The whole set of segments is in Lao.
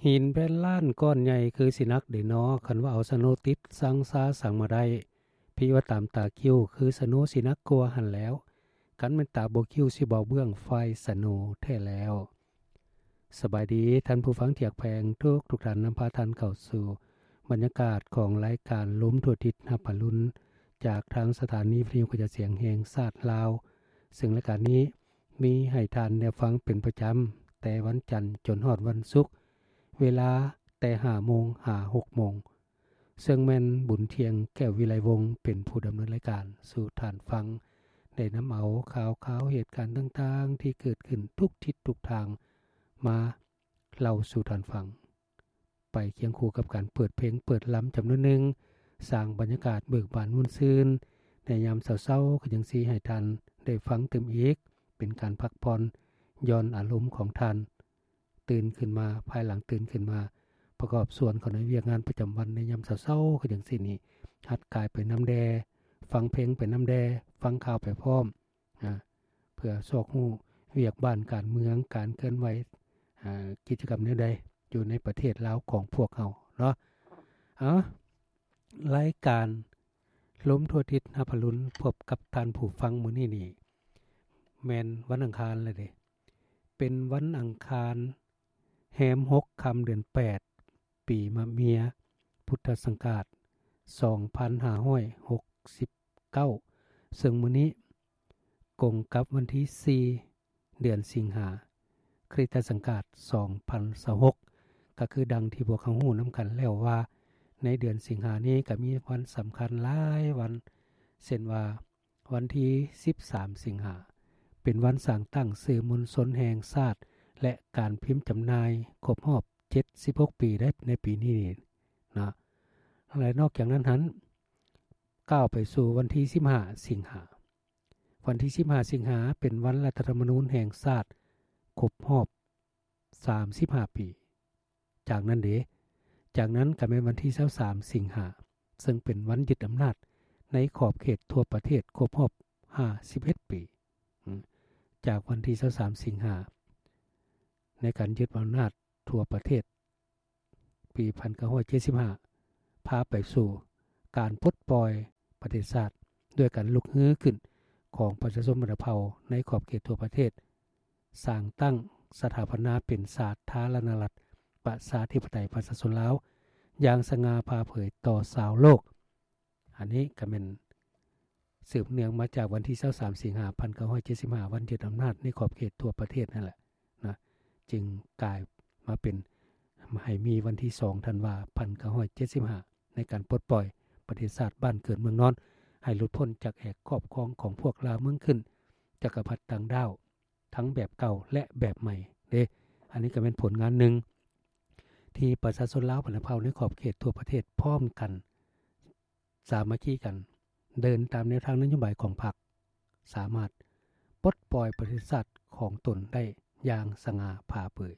ຫີນແຜ່ນລ້ານກ້ອນໃຫຍ່ຄືຊິໜັກເດນໍ, ຄັນວ່າເອົາສະໂນຕິດສັງຊາສັງມາໄດ້, ພີ່ວ່າຕາມຕາຄິ້ວຄືສະໂນຊິໜັກກວ່າຫັ້ນແລ້ວ, ຄັນແມ່ນຕາບໍ່ຄິ້ວຊິບໍ່ເບື້ອງໄຟສະໂນແທ້ແລ້ວ. ສະບາຍດີທ່ານຜູ້ຟັງທີ່ຮັກແພງທຸກໆທ່ານ, ນຳພາທ່ານເຂົ້າສູ່ບັນຍາກາດຂອງລາຍການລົມທົ່ວທິດຮັບອະລຸນ ຈາກທາງສະຖານີວິທະຍຸກະຈາຍສຽງແຫ່ງຊາດລາວ, ເຊິ່ງລາຍການນີ້ ມີໃຫ້ທ່ານໄດ້ຟັງເປັນປະຈຳ ແຕ່ວັນຈັນຈົນຮອດວັນສຸກ, ເວລາແຕ່ຫ້າໂມງຫາຫົກໂມງ, ເຊິ່ງແມ່ນບຸນທ່ຽງ ແກ້ວວິໄລວົງ ເປັນຜູ້ດຳເນີນລາຍການສູ່ທ່ານຟັງ, ໄດ້ນຳເອົາຂ່າວຄາວເຫດການຕ່າງໆທີ່ເກີດຂຶ້ນທຸກທິດທຸກທາງ ມາເລົ່າສູ່ທ່ານຟັງ. ໄປຄຽງຄູ່ກັບການເປີດເພງເປີດລຳຈຳນວນໜຶ່ງ, ສ້າງບັນຍາກາດເບີກບານມ່ວນຊື່ນໃນຍາມເຊົ້າໆ ຄືຈັ່ງຊີ້ໃຫ້ທ່ານໄດ້ຟັງຕື່ມອີກ, ເປັນການພັກຜ່ອນຢ່ອນອາລົມຂອງທ່ານ, ຕື່ນຂຶ້ນມາ, ພາຍຫຼັງຕື່ນຂຶ້ນມາ ປະກອບສ່ວນເຂົ້າໃນວຽກງານປະຈຳວັນໃນຍາມເຊົ້າໆ ຄືຈັ່ງຊີ້ນີ້, ຫັດກາຍໄປນຳແດ່, ຟັງເພງໄປນຳແດ່, ຟັງຂ່າວໄປພ້ອມ. ອາ ເພື່ອຊອກຮູ້ວຽກບ້ານການເມືອງ, ການເຄື່ອນໄຫວ, ອາ ກິດຈະກຳແນວໃດຢູ່ໃນປະເທດລາວຂອງພວກເຮົາເນາະ. ເອົາ ລາຍການລົມທົ່ວທິດຮັບອະລຸນ ພົບກັບທ່ານຜູ້ຟັງມື້ນີ້ນີ້ ແມ່ນວັນອັງຄານແລ້ວເດ້, ເປັນວັນອັງຄານ ແຮມຫົກຄ່ຳເດືອນແປດ ປີມະເມຍ ພຸດທະສັງກາດສອງພັນຫ້າຮ້ອຍຫົກສິບເກົ້າ, ເຊິ່ງມື້ນີ້ກົງກັບວັນທີສີ່ ເດືອນສິງຫາ ຄຣິສຕະສັງກາດສອງພັນຊາວຫົກ, ກໍຄືດັ່ງທີ່ພວກເຮົາຮູ້ນຳກັນແລ້ວວ່າ ໃນເດືອນສິງຫານີ້ກໍມີວັນສຳຄັນຫຼາຍວັນ, ເຊັ່ນວ່າ ວັນທີສິບສາມສິງຫາ ເປັນວັນສ້າງຕັ້ງສື່ມວນຊົນແຫ່ງຊາດ ແລະ ການພິມຈຳໜ່າຍຄົບຮອບເຈັດສິບຫົກປີໃນປີນີ້ເນາະ. ແລະ ນອກຈາກນັ້ນຫັ້ນ ກ້າວໄປສູ່ວັນທີສິບຫ້າສິງຫາ, ວັນທີສິບຫ້າສິງຫາ ເປັນວັນລັດຖະທຳມະນູນແຫ່ງຊາດຄົບຮອບ ສາມສິບຫ້າປີ. ຈາກນັ້ນເດ, ຈາກນັ້ນກໍແມ່ນວັນທີຊາວສາມສິງຫາ, ເຊິ່ງເປັນວັນຍຶດອຳນາດໃນຂອບເຂດທົ່ວປະເທດຄົບຮອບຫ້າສິບເອັດປີ. ຈາກວັນທີຊາວສາມສິງຫາ ໃນການຍຶດອຳນາດທົ່ວປະເທດ ປີພັນເກົ້າຮ້ອຍເຈັດສິບຫ້າ ພາໄປສູ່ການປົດປ່ອຍປະເທດຊາດ ດ້ວຍການລຸກຮືຂຶ້ນຂອງປະຊາຊົນບັນດາເຜົ່າໃນຂອບເຂດທົ່ວປະເທດ, ສ້າງຕັ້ງສະຖາປະນາເປັນສາທາລະນະລັດ ປະຊາທິປະໄຕ ປະຊາຊົນລາວ ຢ່າງສະຫງ່າຜ່າເຜີຍຕໍ່ຊາວໂລກ. ອັນນີ້ກໍແມ່ນ ສືບເນື່ອງມາຈາກວັນທີຊາວສາມສິງຫາ ພັນເກົ້າຮ້ອຍເຈັດສິບຫ້າ ວັນຍຶດອຳນາດໃນຂອບເຂດທົ່ວປະເທດນັ້ນແຫຼະນະ, ຈຶ່ງກາຍມາເປັນ ໃຫ້ມີວັນທີສອງທັນວາ ພັນເກົ້າຮ້ອຍເຈັດສິບຫ້າ ໃນການປົດປ່ອຍປະເທດຊາດບ້ານເກີດເມືອງນອນ ໃຫ້ຫຼຸດພົ້ນຈາກແອກຄອບຄອງຂອງພວກລ່າເມືອງຂຶ້ນ ຈັກກະພັດຕ່າງດ້າວ ທັງແບບເກົ່າ ແລະ ແບບໃໝ່ເດ້. ອັນນີ້ກໍແມ່ນຜົນງານໜຶ່ງ ທີ່ປະຊາຊົນລາວບັນດາເຜົ່າໃນຂອບເຂດທົ່ວປະເທດພ້ອມກັນ ສາມັກຄີກັນ ເດີນຕາມແນວທາງນະໂຍບາຍຂອງພັກ, ສາມາດປົດປ່ອຍປະເທດຊາດຂອງຕົນໄດ້ຢ່າງສະຫງ່າຜ່າເຜີຍ.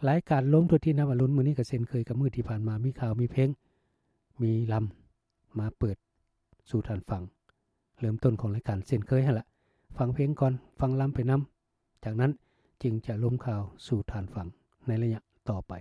ລາຍການລົມທົ່ວທິດຮັບອະລຸນມື້ນີ້ກໍເຊັ່ນເຄີຍກັບມື້ທີ່ຜ່ານມາ, ມີຂ່າວ, ມີເພງ, ມີລຳ ມາເປີດສູ່ທ່ານຟັງ. ເລີ່ມຕົ້ນຂອງລາຍການເຊັ່ນເຄີຍຫັ້ນລະ, ຟັງເພງກ່ອນ, ຟັງລຳໄປນຳ, ຈາກນັ້ນຈຶ່ງຈະລົມຂ່າວສູ່ທ່ານຟັງໃນໄລຍະຕໍ່ໄປ.